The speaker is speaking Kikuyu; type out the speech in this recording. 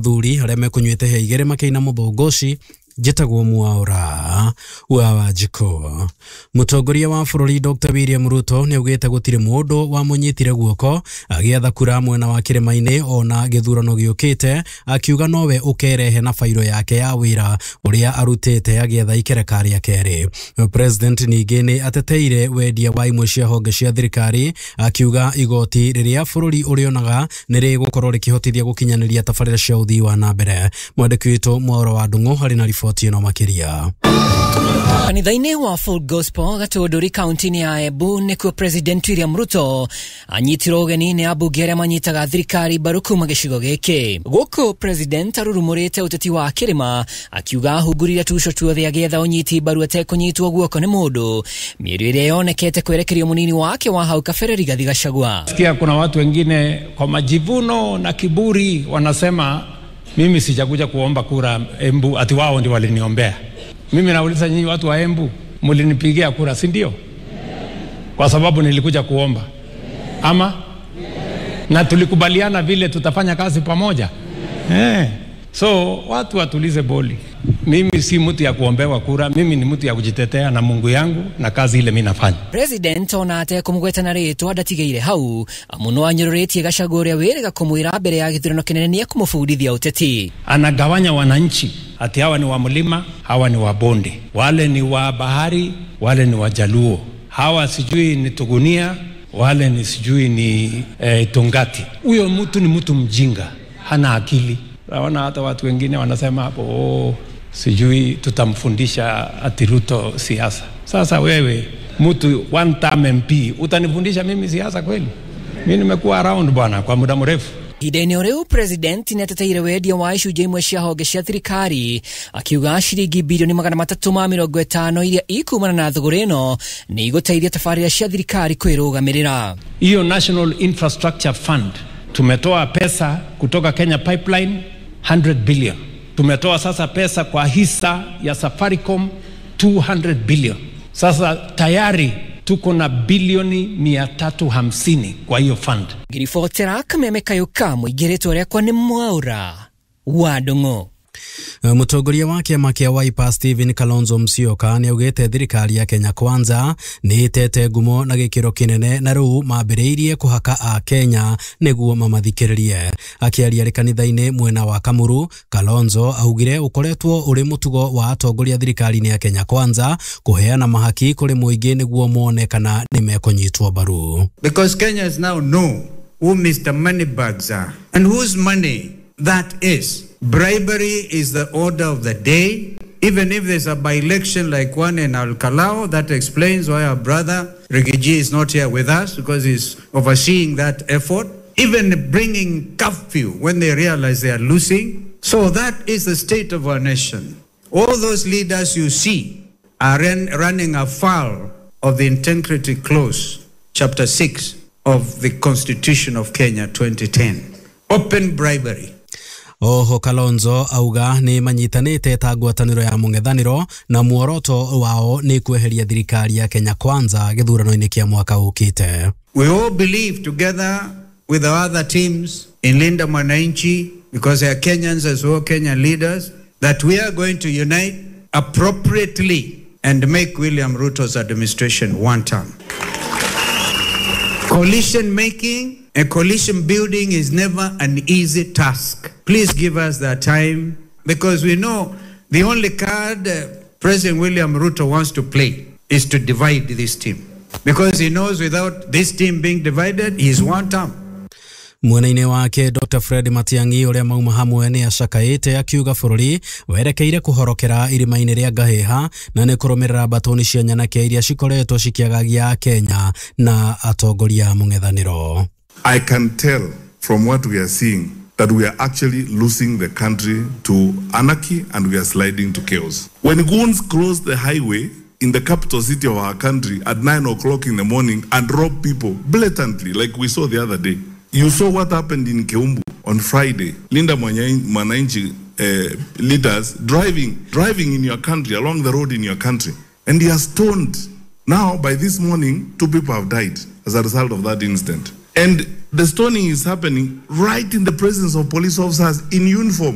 Athuri arĩa mekũnyuĩte hĩa igĩrĩ makĩina mũthũngũci. Njĩtagwo Mwaura wa Wanjikũ. Mũtongoria wa bũrũri Dr. William Ruto nĩ augĩte gũtirĩ mũndũ wamũnyitire guoko agĩetha kura mwena wa kĩrĩma-inĩ ona gĩthurano gĩũkĩte, akiuga nowe ũkerehe na bairo yake ya wĩra ũrĩa arutĩte agĩetha ikereka rĩa kerĩ. President ningĩ nĩ ateteire wendia wa imwe cia honge cia thirikari, akiuga igoti rĩrĩa bũrũri ũrĩonaga nĩ rĩgũkorwo rĩkĩhotithia gũkinyanĩria tabarĩra cia ũthii wa na mbere. Mwandĩki witũ Mwaura wa Ndung'u harĩ na riboti ĩno makĩria. Kanitha-inĩ wa Full Gospel Gatũndũri kaunti-inĩ ya Embu nĩkuo President William Ruto anyitirwo ũgeni nĩ ambunge arĩa manyitaga thirikari mbaru kuma gĩcigo gĩkĩ. Gũkũ President arurumũrĩte ũteti wa kĩrĩma, akiuga ahungurire tuco tuothe agĩetha ũnyiti mbaru atekũnyitwo guoko nĩ mũndũ, mĩario ĩrĩa yonekete kwerekerio mũnini wake wa hau kabere Rigathi Gachagua. Sikia, kuna watu wengine kwa majivuno na kiburi wanasema mimi sijakuja kuomba kura Embu, ati wao ndio waliniombea. Mimi nauliza nyinyi watu wa Embu, mlinipigia kura, si ndio? Kwa sababu nilikuja kuomba ama na tulikubaliana vile tutafanya kazi pamoja. So watu watulize boli. Mimi si mtu ya kuombewa kura, mimi ni mtu ya kujitetea na Mungu yangu na kazi ile mimi nafanya. President ona atekũmũgweta na rĩtwa ndatigĩire hau, amu no anyũrũrĩtie Gachagua ũrĩa wĩrĩga kũmwĩra mbere ya gĩthurano kĩnene nĩekũmũbundithia ũteti. Anagawanya wananchi ati hawa ni wa mlima, hawa ni wa bonde, wale ni wa bahari, wale ni wa Jaluo, hawa sijui ni Tugunia, wale ni sijui ni Tungati. Huyo mtu ni mtu mjinga, hana akili. Naona hata watu wengine wanasema hapo, oh, sijui tutamfundisha ati Ruto siasa. Sasa wewe mtu one term MP utanifundisha mimi siasa kweli? Mimi nimekuwa around bwana kwa muda mrefu. Ihinda-inĩ o rĩu President nĩateteire wendia wa icunjĩ imwe cia honge cia thirikari, akiuga ciringi bilioni 350 iria ikumana na thũgũrĩ ĩno nĩ igũteithia tabarĩra cia thirikari kwĩrũgamĩrĩra. Hiyo National Infrastructure Fund tumetoa pesa kutoka Kenya Pipeline 100 billion. Tumetoa sasa pesa kwa hisa ya Safaricom 200 billion. Sasa tayari tuko na bilioni 350 kwa hiyo fund. Ngiribotera kameme kayũ ka mũingĩ rĩtwa rĩakwa nĩ Mwaura wa Ndung'u. Mũtongoria wa kĩama kĩa Wiper Stephen Kalonzo Musyoka nĩ augĩte thirikari ya Kenya Kwanza nĩ ĩtete ngumo na gĩkĩro kĩnene na rĩu mambĩrĩirie kũhaka a Kenya nĩguo mamathikĩrĩrie. Akĩaria arĩ kanitha-inĩ mwena wa Kamuru, Kalonzo augire ũkoretwo ũrĩ mũtugo wa atongoria thirikari-inĩ ya Kenya Kwanza kũheana mahaki kũrĩ mũingĩ nĩguo mone kana nĩ mekũnyitwo mbaru. Because Kenyans now know who Mr. Moneybags are and whose money that is. Bribery is the order of the day. Even if there's a by-election like one in Al-Kalau, that explains why our brother Rigiji is not here with us, because he's overseeing that effort. Even bringing curfew when they realize they are losing. So that is the state of our nation. All those leaders you see are running afoul of the Integrity Clause, Chapter 6 of the Constitution of Kenya 2010. Open bribery. Oho Kalonzo auga nĩ manyitanĩte ta ngwatanĩro ya mũng'ethanĩro na muoroto wao nĩ kweheria thirikari ya Kenya Kwanza gĩthurano-inĩ kĩa mwaka ũkĩte. We all believe together with our other teams in Linda Mwananchi, because they are Kenyans as well, Kenyan leaders, that we are going to unite appropriately and make William Ruto's administration one term. Coalition making and coalition building is never an easy task. Please give us that time, because we know the only card President William Ruto wants to play is to divide this team. Because he knows without this team being divided, he's one term. Mwena-inĩ wake Dr. Fred Matiang'i ũrĩa mauma hamwe nĩ acakaĩte akiuga bũrũri werekeire kũhorokera irima-inĩ rĩa ngahĩha na nĩ kũrũmĩrĩra mbatoni cia nyanake iria cikoretwo cikĩagagia Kenya na atongoria mũng'ethanĩro. I can tell from what we are seeing that we are actually losing the country to anarchy and we are sliding to chaos. When goons cross the highway in the capital city of our country at 9 o'clock in the morning and rob people blatantly, like we saw the other day. You saw what happened in Keumbu on Friday. Linda Mwananchi leaders driving in your country, along the road in your country, and they are stoned. Now, by this morning, 2 people have died as a result of that incident. And The stoning is happening right in the presence of police officers in uniform.